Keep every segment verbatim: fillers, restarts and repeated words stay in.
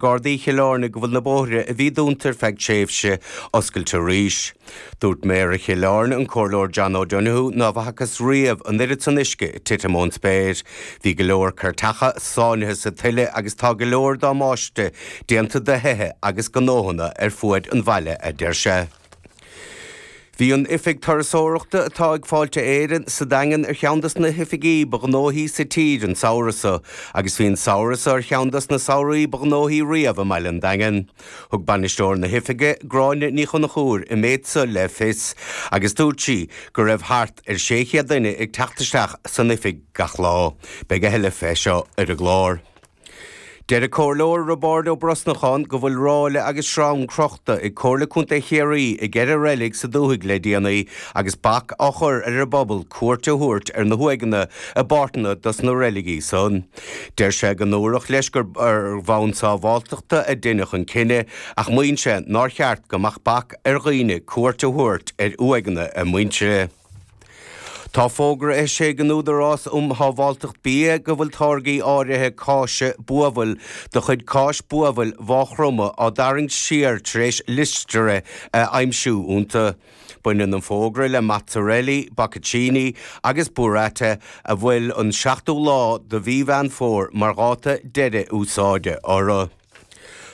Gardaí Chill Airne go bhfuil na bóithre a bhí dúnta ar feadh tréimhse oscailte arís. Dúirt Méara Chill Airne an Comhairleoir John O'Donoghue ná bhfacthas riamh an oiread san uisce ag titim ón spéir. Bhí go leor cairteacha sáinnithe sa tuile agus tá go leor damáiste déanta do thithe agus gnóthanna ar fuaid an bhaile a deir sé. Bhí an oifig turasóireachta atá ag Fáilte Éireann sa Daingean ar cheann des na hoifigí ba ghnóthaí sa tír an samhradh seo, agus bhí an samhradh seo ar cheann des na samhraí ba ghnóthaí riamh i mbaile an Daingin. Thug bainisteoir na hoifige Gráinne Ní Chonchúir an méid seo le fios, agus dúirt sí go raibh thart ar sé chéad duine ag teacht isteach san oifig gach lá. Beidh a thuilleadh fé seo ar an gclár. Deir an Comhairleoir Roibeárd Ó Brosnacháin go bhfuil ráille agus sreang crochta ag Comhairle Contae Chiarraí i gceithre reilig sa dúthaigh le déanaí agus bac á chur ar an bpobal cuairt a thabhairt ar na huaigheanna i bpáirteanna dos na reiligí san. Deir sé go ndúradh leis gur ar bhonn sábháilteachta a deineadh an cinneadh ach maíonn sé nár cheart go mbeadh bac ar dhaoine cuairt a thabhairt ar uaigheanna a muintire. Tá fógra eisithe ag an Údarás um Shábháilteacht Bia go bhfuil táirgí áirithe cáise buabhaill de chuid Cáis Buabhaill Mhaigh Chromtha á dtarraingt siar tar éis Listeria a aimsiú iontu. Baineann an fógra le mozzarella, bocconcini agus burrata a bhfuil an seachtú lá de mhí Mheán Fómhair mar dháta deiridh úsáide orthu.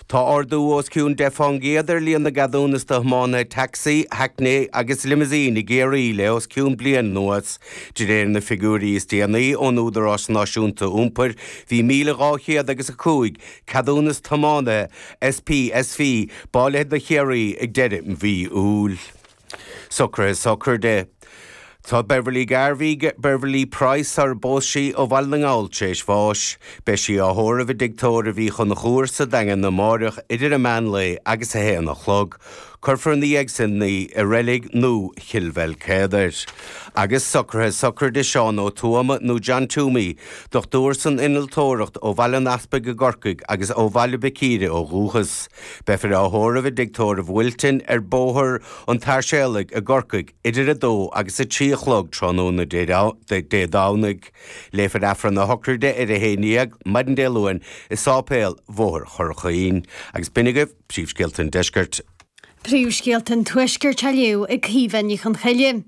Tá ardú os cionn deich fán gcéad ar líon na gceadúnas do thiománaithe tacsaí, hackney agus limousine i gCiarraí le os cionn bliain anuas. De réir na figiúirí is déanaí ón Údarás Náisiúnta Iompair, bhí míle dhá chéad agus a cúig ceadúnas tiománaithe SPSV bailithe do Chiarraí ag deireadh mhí Iúil. Socruithe sochraide. Tá Beverly Garvey, Beverly Price sar a phós sí ó Bhaile na nGall tar éis bháis. Beidh sí á thórramh i dTigh Tórraimh Uí Chonchúir sa Daingean amáireach idir an meán lae agus a haon a chlog. Cuirfear ina dhiaidh sin í i reilig nua Chill Bheilcéadair. Agus socruithe sochraide Seán Ó Tuama nó John Toomey, dochtúir san innealtóireacht ó Bhaile an Easpaig i gCorcaigh agus ó Bhaile Mhic Íre ó dhúchas. Beifear á thórramh i dTigh Tórraimh Wilton ar Bhóthar an tSáirséalaigh i gCorcaigh idir a dó agus a trí a chlog tráthnóna Dé Domhnaigh. Léifear Aifreann na sochraide ar a haon déag maidin Dé Luain i Sáipéal Bhóthar Chorra Agus b'in agaibh príomhscéalta an deiscirt. Príomhscéalta an Tuaiscirt á léamh ag Caoimhe Ní Chonchoille.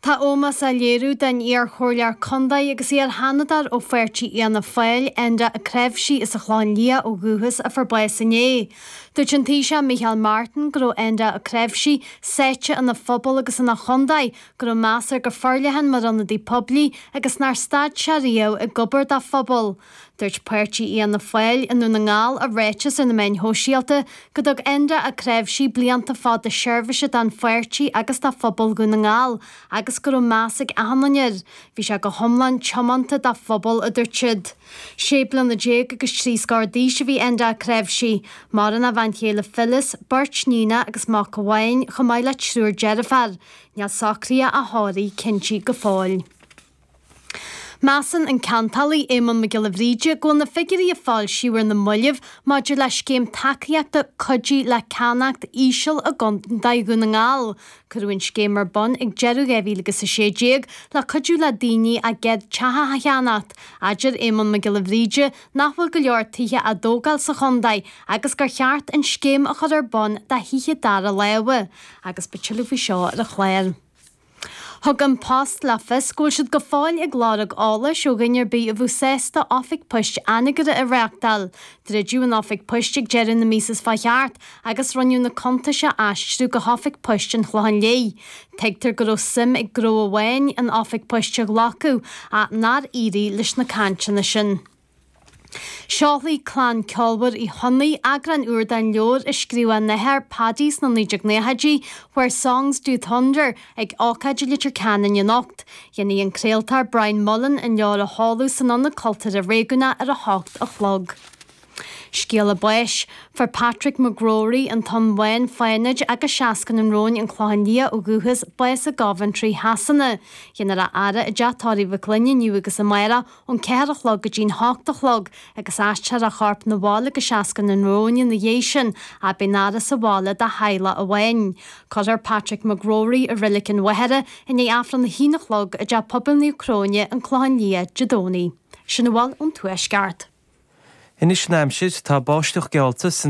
Tá ómós á léiriú don iar-chomhairleoir contae agus iar-sheanadóir ó pháirtí Fhianna Fáil, Enda Ó Cnáimhsí as an Chlochán Liath ó dhúchas a fuair bás inné. Dúirt an Taoiseach Micheál Martin go raibh Enda Ó Cnáimhsí sáite ina phobal agus ina chontae, go raibh meas air go forleathan mar ionadaí poiblí agus nár stad sé riamh ag obair dá phobal. Dúirt páirtí Fhianna Fáil i nDún na nGall i ráiteas ar na meáin shóisialta go dtug Enda Ó Cnáimhsí blianta fada seirbhíse don pháirtí agus dá phobal Dhún na nGall agus go raibh meas ag achan duine air. Bhí sé go hiomlán tiomanta dá phobal a dúirt siad. Sé bliana déag agus trí scór d'aois a bhí Enda Ó Cnáimhsí. Maireann a bhean chéile Phyllis, beirt níon agus mac amháin chomh maith le triúr deirfiúr. Níl socruithe a thórraimh cinnte go fóill. Measann an ceantálaí Éamonn Mac Giolla Bhríde go bhfuil na figiúirí a foilsíodh ar na mallaibh maidir le scéim tacaíochta Cuidigh le Ceannacht íseal i gContae Dhún na nGall. Cuireadh an scéim ar bun ag deireadh dhá mhíle agus a sé déag le cuidiú le daoine a gcéad teach a cheannacht. Adeir Éamonn Mac Giolla Bhríde nach bhfuil go leor tithe á dtógáil sa chontae agus gur cheart an scéim a chur ar bun do thithe dara láimhe. Agus beidh tuilleadh faoi seo ar an chlár. Thug An Post le fios go bhfuil siad go fóill ag lorg eolais ó dhuine ar bith a bheadh sásta oifig poist Anagaire a reáchtáil. Druideadh an oifig poist ag deireadh na míosa seo chuaigh thart agus rinneadh na cuntais a aistriú go hoifig poist an Chlocháin Léith. Tuigtear go raibh suim ag gnó amháin an oifig poist a ghlacadh ach nár éirigh leis na cainteanna sin. Seolfaidh clann ceolmhar Uí Chonnaith eagrán úr den leabhar a scríobh a n-athair Paddy sna naoi déag nóchaidí, Where Songs Do Thunder, ag ócáid i Leitir Ceanainn anocht. Dhéanfaidh an craoltóir Brian Mullen an leabhar a sheoladh san Ionad Cultúrtha Réigiúnach ar a hocht a chlog. Scéala báis. Fuair Patrick McGrory, an Tonn Bhán, Fánaid agus Seascann an Róin, An Clochán Liath ó dhúchas, bás i gCoventry Shasana. Dhéanfar a fhaire i dTeach Tórraimh Mhic Fhloinn inniu agus amárach ón ceathair a chlog go dtí'n hocht a chlog agus aistreofar a chorp 'na bhaile go Seascann an Róin ina dhiaidh sin ach beidh an fhaire sa bhaile dá theaghlach amháin. Cuirfear Patrick McGrory i Reilig an Mhachaire i ndiaidh Aifreann a haon a chlog i dTeach Pobail Naomh Cróine, An Clochán Liath, Dé Domhnaigh. Sin a bhfuil ón Tuaisceart. Anois an aimsir, tá báisteach geallta san